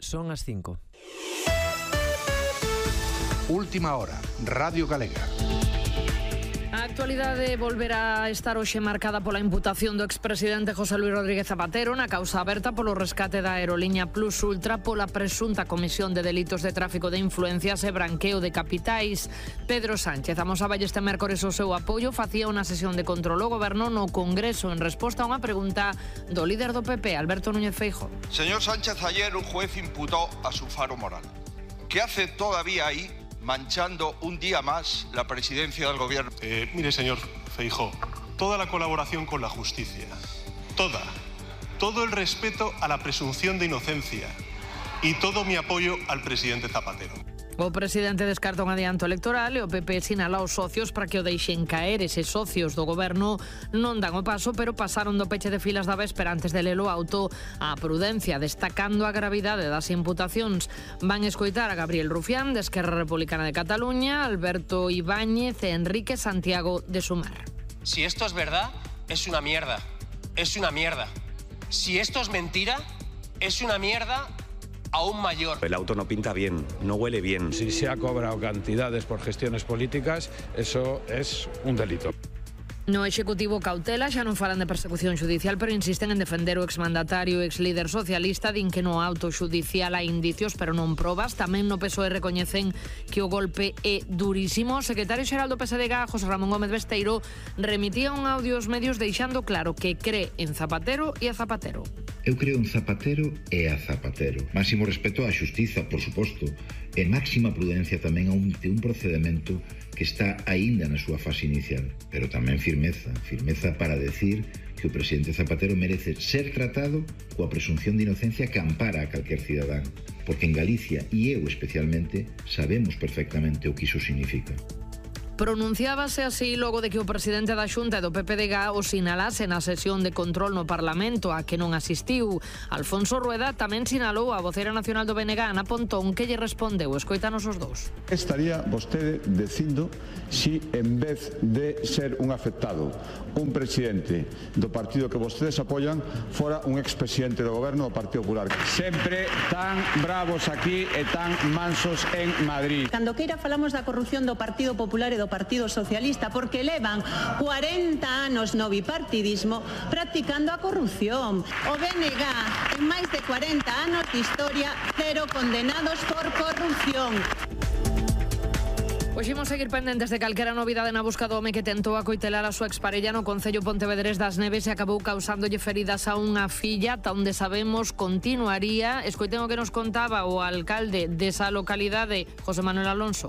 Son as 5. Última hora, Radio Galega. A actualidade volverá a estar hoxe marcada pola imputación do expresidente José Luis Rodríguez Zapatero na causa aberta polo rescate da aerolínea Plus Ultra pola presunta comisión de delitos de tráfico de influencias e branqueo de capitais. Pedro Sánchez amosaba este mércores o seu apoio, facía unha sesión de control ao goberno no Congreso en resposta a unha pregunta do líder do PP, Alberto Núñez Feijóo. Señor Sánchez, ayer un juez imputó a su faro moral. ¿Qué hace todavía ahí, manchando un día más la presidencia del gobierno? Mire, señor Feijóo, toda la colaboración con la justicia, todo el respeto a la presunción de inocencia y todo mi apoyo al presidente Zapatero. O presidente descarta un adianto electoral e o PP sinala aos socios para que o deixen caer. Eses socios do goberno non dan o paso, pero pasaron do peche de filas da véspera antes de lelo auto a prudencia, destacando a gravidade das imputacións. Van escoitar a Gabriel Rufián, de Esquerra Republicana de Cataluña, Alberto Ibáñez e Enrique Santiago, de Sumar. Si esto es verdad, es una mierda. Es una mierda. Si esto es mentira, es una mierda aún mayor. El auto no pinta bien, no huele bien. Si se ha cobrado cantidades por gestiones políticas, eso es un delito. No Executivo cautela, xa non falan de persecución judicial, pero insisten en defender o exmandatario e exlíder socialista. Din que no auto judicial hai indicios, pero non probas. Tamén no PSOE recoñecen que o golpe é durísimo. O secretario xeral do PSDG, José Ramón Gómez Besteiro, remitía un audio aos medios deixando claro que cree en Zapatero e a Zapatero. Eu creo en Zapatero e a Zapatero. Máximo respeto á xustiza, por suposto, e máxima prudencia tamén a un procedimento que está aínda na súa fase inicial, pero tamén firmeza para decir que o presidente Zapatero merece ser tratado coa presunción de inocencia que ampara a calquer cidadán, porque en Galicia, e eu especialmente, sabemos perfectamente o que iso significa. Pronunciábase así logo de que o presidente da Xunta e do PPDG o sinalase na sesión de control no Parlamento a que non asistiu. Alfonso Rueda tamén sinalou a vocera nacional do BNG, Ana Pontón, que lle respondeu. Escoítanos os dous. Estaría vostede dicindo si en vez de ser un afectado, un presidente do partido que vostedes apoian, fora un expresidente do goberno do Partido Popular. Sempre tan bravos aquí e tan mansos en Madrid. Cando queira falamos da corrupción do Partido Popular e do Partido Socialista, porque levan 40 anos no bipartidismo practicando a corrupción. O BNG, en máis de 40 anos de historia, 0 condenados por corrupción. Pois imos seguir pendentes de calquera novidade na busca do home que tentou acoitelar a súa exparella no concello pontevedrés das Neves e acabou causándolle feridas a unha filla, ata onde sabemos continuaría. Escoiten o que nos contaba o alcalde desa localidade, José Manuel Alonso.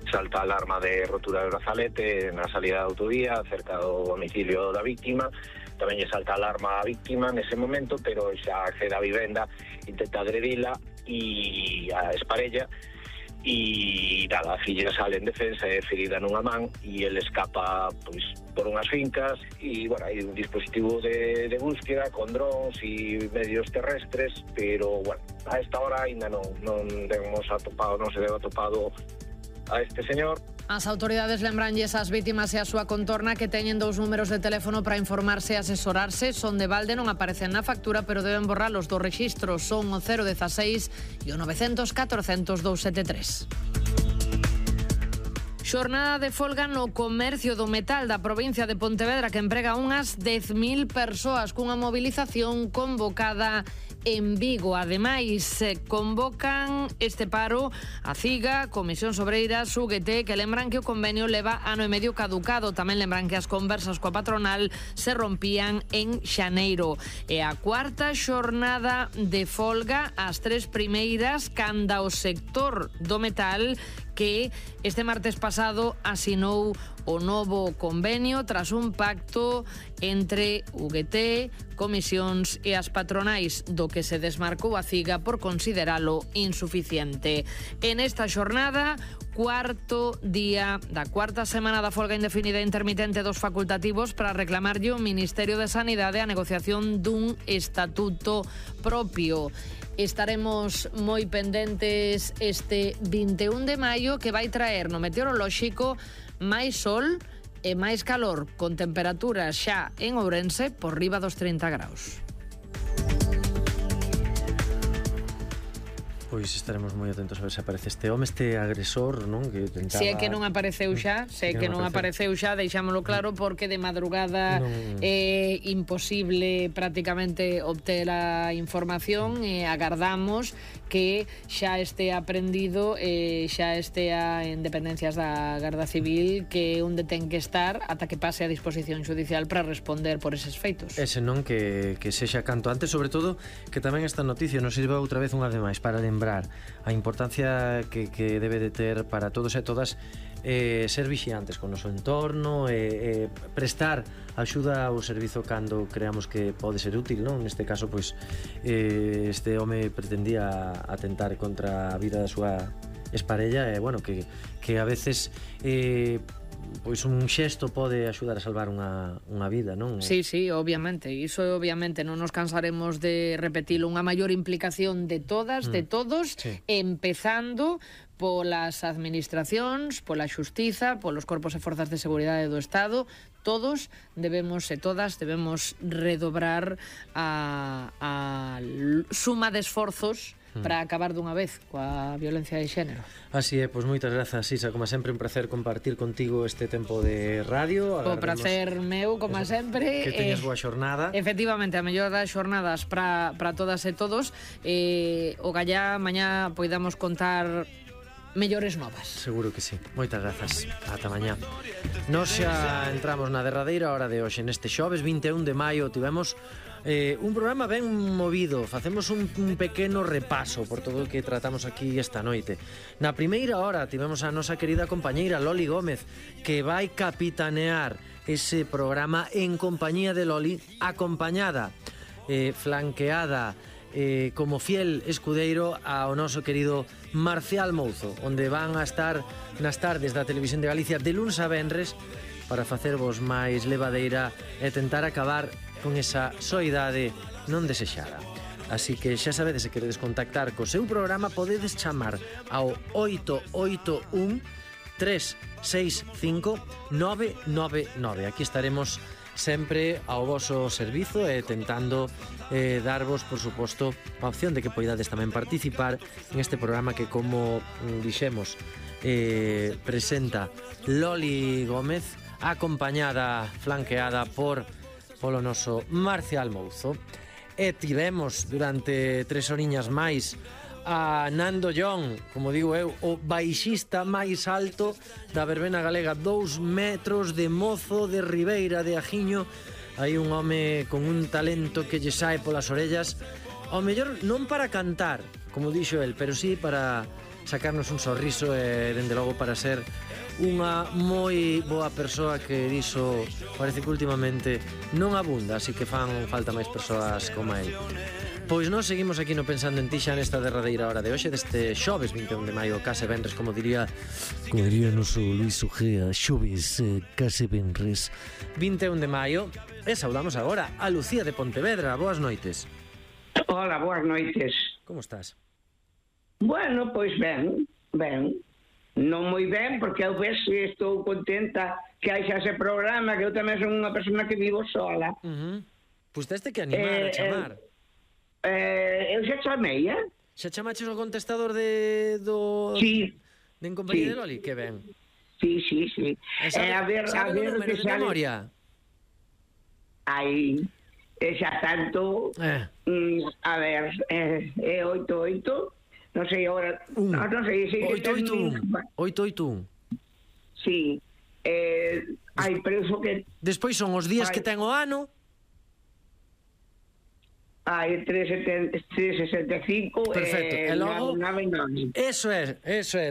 Salta a alarma de rotura de brazalete na salida da autovía cerca do domicilio da víctima. Tamén lle salta a alarma a víctima nese momento, pero xa accede á vivenda, intenta agredila e a esparella e nada, a filla sale en defensa, é ferida nunha man e ele escapa pois por unhas fincas e bueno, hai un dispositivo de búsqueda con drones e medios terrestres, pero bueno, a esta hora ainda non se debe atopado a este señor. As autoridades lembranlles ás vítimas e a súa contorna que teñen 2 números de teléfono para informarse e asesorarse. Son de balde, non aparecen na factura, pero deben borralos dos rexistros. Son o 016 e o 900 400 273. Xornada de folga no comercio do metal da provincia de Pontevedra, que emprega unhas 10.000 persoas cunha movilización convocada en Vigo. Ademais, convocan este paro a CIGA, Comisións Obreiras, UGT, que lembran que o convenio leva ano e medio caducado. Tamén lembran que as conversas coa patronal se rompían en xaneiro. E a cuarta xornada de folga, as 3 primeiras, canda o sector do metal, que este martes pasado asinou o novo convenio tras un pacto entre UGT, comisións e as patronais, do que se desmarcou a CIGA por consideralo insuficiente. En esta xornada, cuarto día da cuarta semana da folga indefinida e intermitente dos facultativos, para reclamarlle ao Ministerio de Sanidade a negociación dun estatuto propio. Estaremos moi pendentes este 21 de maio, que vai traer no meteorolóxico máis sol e máis calor, con temperaturas xa en Ourense por riba dos 30 graus. Pois estaremos moi atentos a ver se aparece este home, este agresor, non? Que tentaba... Se é que non apareceu xa, deixámoslo claro, porque de madrugada é imposible prácticamente obter a información e agardamos que xa estea aprendido e xa estea en dependencias da Garda Civil, que é onde ten que estar ata que pase a disposición xudicial para responder por eses feitos. Ese non, que sexa canto antes, sobre todo que tamén esta noticia nos sirva outra vez unha vez máis para lembrar a importancia que debe de ter para todos e todas ser vixiantes con o noso entorno e prestar axuda ao servizo cando creamos que pode ser útil, non? Neste caso, pois, este home pretendía atentar contra a vida da súa exparella e, bueno, que a veces... pois un xesto pode axudar a salvar unha vida, non? Sí, obviamente, iso obviamente non nos cansaremos de repetilo, unha maior implicación de todas, de todos, empezando polas administracións, pola xustiza, polos corpos e forzas de seguridade do Estado. Todos debemos e todas debemos redobrar a suma de esforzos para acabar dunha vez coa violencia de xénero. Así é, pois moitas grazas, Isa, como sempre un placer compartir contigo este tempo de radio. O placer meu, como sempre. Que teñas boa xornada. Efectivamente, a mellor das xornadas para todas e todos. O gallá, mañá poidamos contar mellores novas. Seguro que sí. Moitas grazas. Ata mañá. Nos xa entramos na derradeira hora de hoxe. Neste xoves 21 de maio tivemos un programa ben movido. Facemos un pequeno repaso por todo o que tratamos aquí esta noite. Na primeira hora tivemos a nosa querida compañeira Loli Gómez, que vai capitanear ese programa en compañía de Loli, acompañada, flanqueada, como fiel escudeiro ao noso querido Marcial Mouzo, onde van a estar nas tardes da Televisión de Galicia de luns a venres para facervos máis levadeira e tentar acabar con esa soidade non desexada. Así que xa sabedes, se queredes contactar co seu programa, podedes chamar ao 881 365 999. Aquí estaremos sempre ao voso servizo e tentando darvos, por suposto, a opción de que poidades tamén participar en este programa que, como dixemos, presenta Loli Gómez, acompañada, flanqueada polo noso Marcial Mouzo. E tivemos durante 3 horiñas máis a Nando John, como digo eu, o baixista máis alto da verbena galega, 2 metros de mozo de Ribeira de Ajiño. Hai un home con un talento que lle sae polas orellas, ao mellor non para cantar, como dixo el, pero sí para sacarnos un sorriso e, dende logo, para ser unha moi boa persoa, que diso parece que últimamente non abunda, así que fan falta máis persoas como el. Pois nós seguimos aquí no Pensando en Ti xa nesta derradeira hora de hoxe, deste xoves 21 de maio, case venres, como diría noso Luis Ugea, xoves case venres 21 de maio. E saudamos agora a Lucía de Pontevedra. Boas noites. Hola, boas noites. Como estás? Bueno, pois ben. Non moi ben, porque eu estou contenta que hai xa ese programa, que eu tamén son unha persona que vivo sola. Pois teste que animar a chamar. Eu xa chamei, Xa chamaches o contestador do... Sí. De En compañía de Loli? Que ben. Sí. Sabe o número de memoria? Ai, xa tanto... A ver, é 88... Non sei agora... Non sei... 881. Sí. Hai preso que... Despois son os días que ten o ano. Hai 365. Perfecto. E logo... 999. Eso é,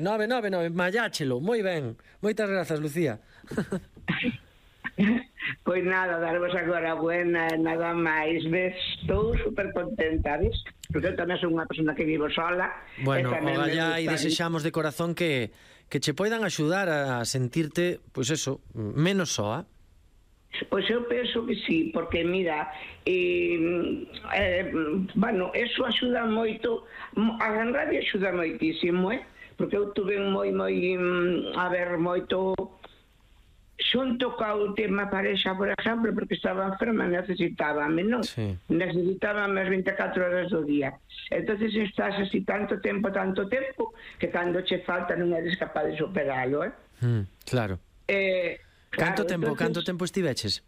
999. Malláchelo. Moi ben. Moitas grazas, Lucía. Pois nada, darvos agora buena, nada máis. Estou super contenta, ves? Porque eu tamén son unha persona que vivo sola. Bueno, ogallá e desexamos de corazón que che poidan axudar a sentirte, pois eso, menos soa. Pois eu penso que sí, porque mira, bueno, eso axuda moito, a Gran Radio axuda moitísimo, porque eu tuve moi, a ver, moito xunto co tema parexa, por exemplo, porque estaba enferma, necesitábame, non? Sí. Necesitábame as 24 horas do día. Entonces estás así tanto tempo, que cando che falta non eres capaz de superalo, Claro. Canto tempo estiveches?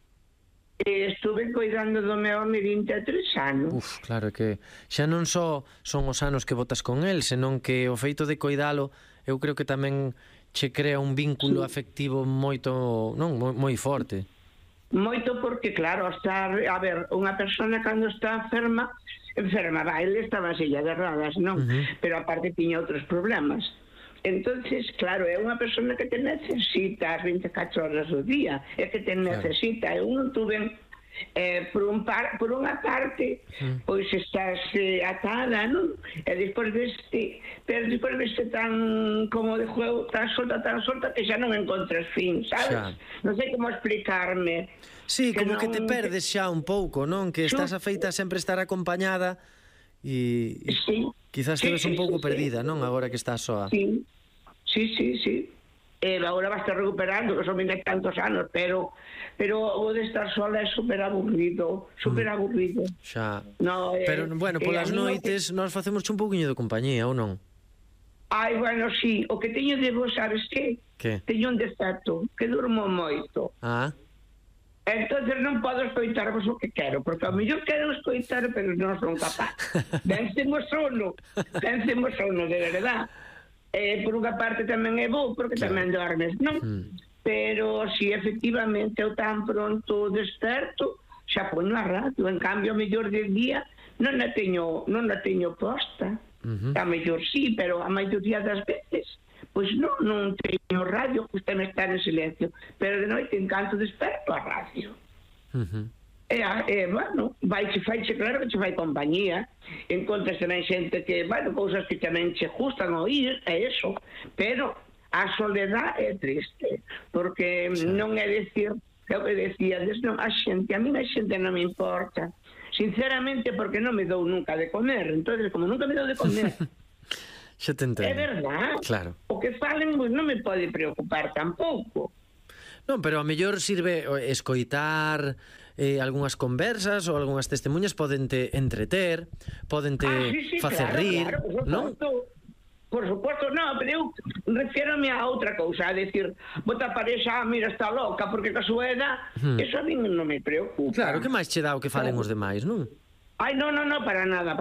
Estuve cuidando do meu home 23 anos. Claro que xa non só son os anos que botas con el, senón que o feito de coidalo, eu creo que tamén che crea un vínculo afectivo moito, non, moi forte. Moito porque, claro, unha persona cando está enferma, ele estaba en silla de rodas, non? Pero aparte tiña outros problemas. Entonces, claro, é unha persona que te necesita as 24 horas do día, é que te necesita. Eu non tuve, por unha parte, pois estás atada, non? E despois deste tan como de juego, tan solta, que xa non encontras fin, sabes? Non sei como explicarme. Sí, como que te perdes xa un pouco, non? Que estás afeita a sempre estar acompañada e quizás te ves un pouco perdida, non? Agora que estás soa. Sí. Agora vas a recuperando, que son 20 tantos anos, pero o de estar sola é super aburrido. Xa. Pero, bueno, polas noites nós facemos un pouquiño de compañía, ou non? Ai, bueno, sí. O que teño de vos, sabes que? Teño un defecto, que durmo moito. Entonces non podo escoitarvos o que quero, porque ao mellor quero escoitar, pero non son capaz. Vencemos sono, de verdad. Por unha parte tamén é bo, porque tamén dormes, non? Pero si efectivamente eu tan pronto desperto, xa poño a radio. En cambio, a mellor del día non a teño posta. A mellor sí, pero a maioría das veces pois non teño radio, gustame estar en silencio, pero de noite en canto desperto a radio. Bueno, faiche claro que che fai compañía, encontras tamén xente que, bueno, cousas que tamén che gustan oír, é eso, pero a soledad é triste, porque non é dicir, é o que decíades, non, a mí a xente non me importa, sinceramente, porque non me dou nunca de comer, entonces, como nunca me dou de comer, xa te entendo. É verdad. Claro. O que falen non me pode preocupar tampouco. Non, pero a mellor sirve escoitar algunhas conversas ou algunhas testemunhas, podente entreter, podente facer rir, non? Por suposto, non, pero eu refiérome a outra cousa, a decir, bota parexa, mira, está loca, porque ca súa edad, eso a mí non me preocupa. Claro, que máis che dá o que falen os demais, non? Ai, non, para nada,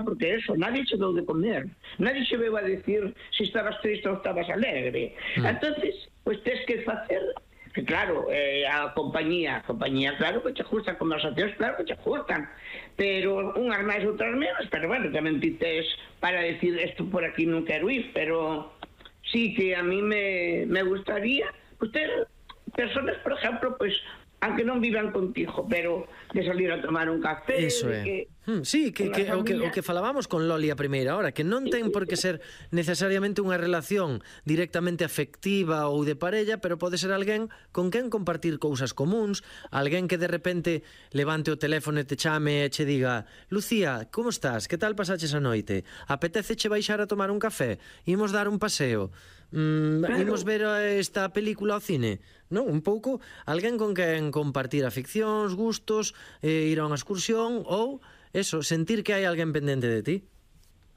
porque eso, nadie che dou de comer, nadie che veu a decir se estabas triste ou estabas alegre. Entonces, pois tes que facer, que claro, a compañía, claro que che gustan, conversacións, claro que che gustan, pero unhas máis, outras menos, pero bueno, tamén ti tes para decir, isto por aquí non quero ir, pero sí que a mí me gustaría, pues ter personas, por ejemplo, pues aunque non vivan contigo, pero de salir a tomar un café. Eso é. Sí, o que falábamos con Loli a primeira hora, que non ten por que ser necesariamente unha relación directamente afectiva ou de parella, pero pode ser alguén con quen compartir cousas comuns, alguén que de repente levante o teléfono e te chame e che diga: Lucía, como estás? Que tal pasaches a noite? Apetéceche baixar a tomar un café? Imos dar un paseo? Imos ver esta película ao cine? Non, un pouco alguén con quen compartir aficións, gustos, ir a unha excursión ou eso, sentir que hai alguén pendente de ti.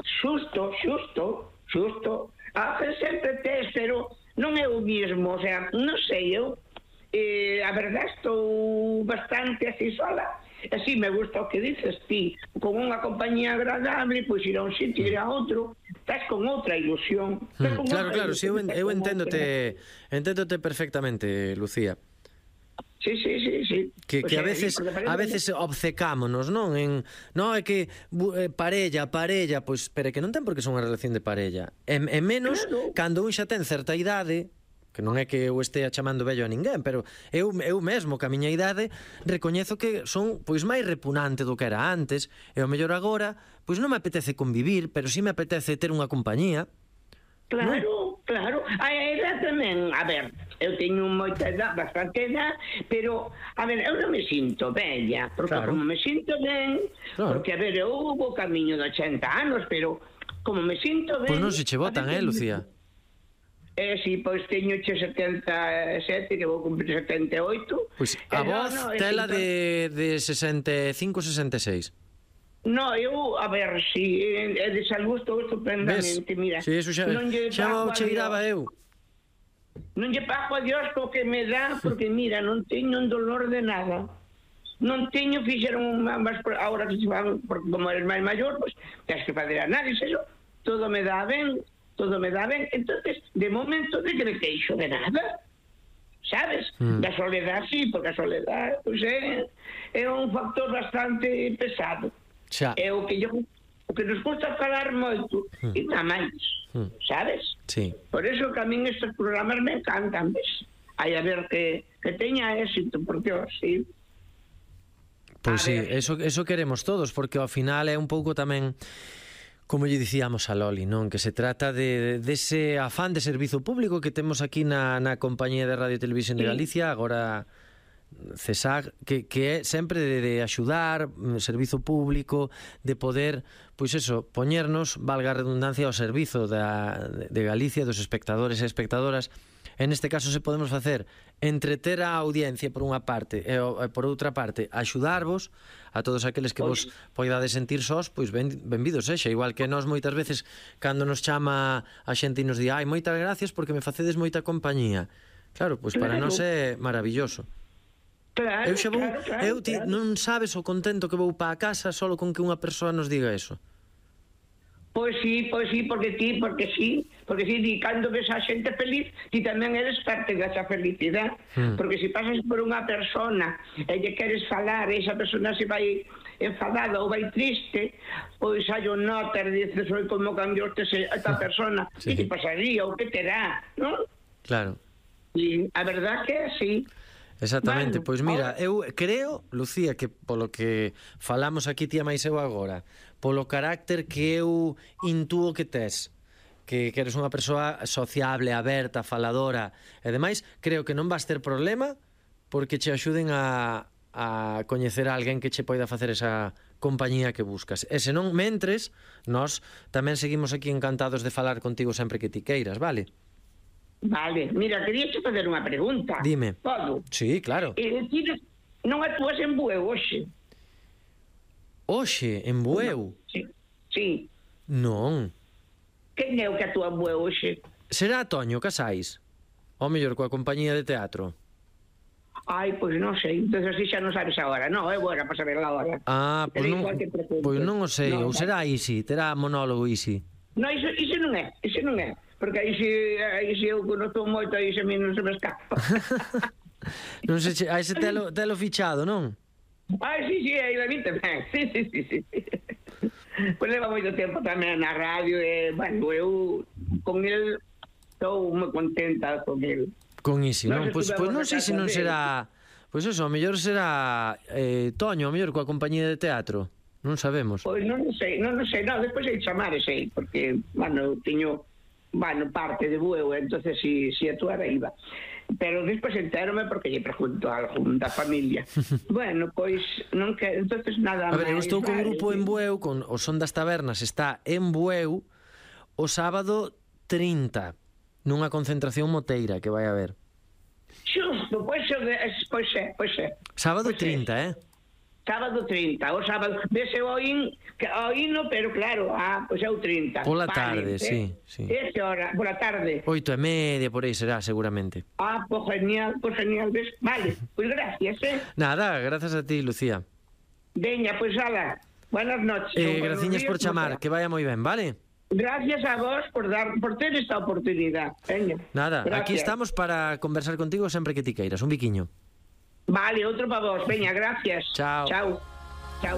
Xusto. A veces sempre tes, pero non é o mismo, o sea, non sei, eu a verdade estou bastante así sola. Así me gusta o que dices ti, con unha compañía agradable, pois ir a un sitio, ir a outro, estás con outra ilusión. Claro, sí, eu enténdote perfectamente, Lucía. Sí. Que a veces obcecámonos, non? Non é que parella, pois, pero que non ten por que ser unha relación de parella. E menos cando un xa ten certa idade, que non é que eu estea chamando vello a ninguén, pero eu mesmo, que a miña idade, recoñezo que son pois máis repugnante do que era antes, e ao mellor agora, pois non me apetece convivir, pero sí me apetece ter unha compañía. Claro. A edad tamén, a ver, eu teño moita edad, bastante edad, pero, a ver, eu non me sinto bella, porque como me sinto ben, porque, a ver, eu hubo camiño de 80 anos, pero como me sinto ben... Pois non se che botan, Lucía? Si, pois teño 77, que vou cumprir 78. Pois a voz tela de 65, 66. No, eu, a ver, si é de salud estou estupendamente, mira. Si, eso xa o cheiraba eu. Non lle pago a Dios co que me dá, porque mira, non teño un dolor de nada. Non teño, fixeron ahora que se van, porque como eres máis maior, pois tens que fazer análisis, eso, todo me dá ben, entonces, de momento, de que me queixo de nada, sabes? Da soledad, sí, porque a soledad, pois é un factor bastante pesado. É o que nos gusta falar moito e nada máis, sabes? Sí. Por eso que a min estes programas me encantan, ves? Hai a ver que teña éxito, porque sí. Pois sí, eso queremos todos, porque ao final é un pouco tamén, como lle dicíamos a Loli, non? Que se trata dese afán de servizo público que temos aquí na Compañía de Radio e Televisión de Galicia, agora CESAG, que é sempre de axudar, servizo público, de poder, pois eso, poñernos, valga a redundancia, ao servizo de Galicia, dos espectadores e espectadoras. En este caso se podemos facer entreter a audiencia por unha parte e por outra parte axudarvos a todos aqueles que vos poidades sentir sós, pois benvidos sexa, igual que nós moitas veces cando nos chama a xente e nos di moitas gracias porque me facedes moita compañía. Claro, pois para nós é maravilloso. Claro, eu xa vou, non sabes o contento que vou para a casa solo con que unha persoa nos diga eso. Pois sí, porque sí, di, cando ves a xente feliz, ti tamén eres parte desa felicidade, porque se pasas por unha persona e lle queres falar e esa persona se vai enfadada ou vai triste, pois hai un notar, dices, oi, como cambiou esta persona, que te pasaría ou que terá, non? Claro. E a verdad que é así. Exactamente, pois mira, eu creo, Lucía, que polo que falamos aquí tía máis eu agora, polo carácter que eu intúo que tes, que eres unha persoa sociable, aberta, faladora e demais, creo que non vas ter problema porque che axuden a coñecer a alguén que che poida facer esa compañía que buscas. E se non mentres, nós tamén seguimos aquí encantados de falar contigo sempre que ti queiras, vale? Vale, mira, quería te fazer unha pregunta. Dime. Podo? Sí, claro. Ti non actúas en Bueu hoxe? Hoxe, en Bueu? Sí. Non. Quen é o que actúa en Bueu hoxe? Será Toño Casais? Ou mellor coa compañía de teatro? Pois non sei, entón así xa non sabes agora. Non, é buena para saber agora. Pois non o sei, ou será Isi, terá monólogo Isi. Non, iso non é. Porque aí se eu conozco moito, aí se a mí non se me escapa. Non sei, aí se telo fichado, non? Sí, aí a mí tamén. Sí. Pois leva moito tempo tamén na radio e, bueno, eu con el estou moi contenta con el. Con Isi, non? Pois non sei se non será... Pois eso, a mellor será Toño, a mellor coa compañía de teatro. Non sabemos. Pois non sei, despois hai chamar ese, porque, bueno, teño... Bueno, parte de Bueu, entonces si actuara iba. Pero despois entérome porque lle pregunto a algún da familia. Bueno, pois non que entonces nada máis. A ver, eu estou co grupo en Bueu, con o Son das Tabernas, está en Bueu o sábado 30, nunha concentración moteira que vai haber. Xusto, pois é. Sábado 30, Sábado 30, o sábado, vese o hino, pero claro, pois é o 30. Pola tarde, sí. Esa hora, pola tarde. 8:30, por aí será, seguramente. Pois genial, ves. Vale, pois gracias, Nada, gracias a ti, Lucía. Veña, pois ala, buenas noches. Graciñas por chamar, que vaya moi ben, vale? Gracias a vos por ter esta oportunidade. Veña. Nada, gracias. Aquí estamos para conversar contigo sempre que ti queiras. Un biquiño. Vale, outro para vos. Veña, gracias. Chao.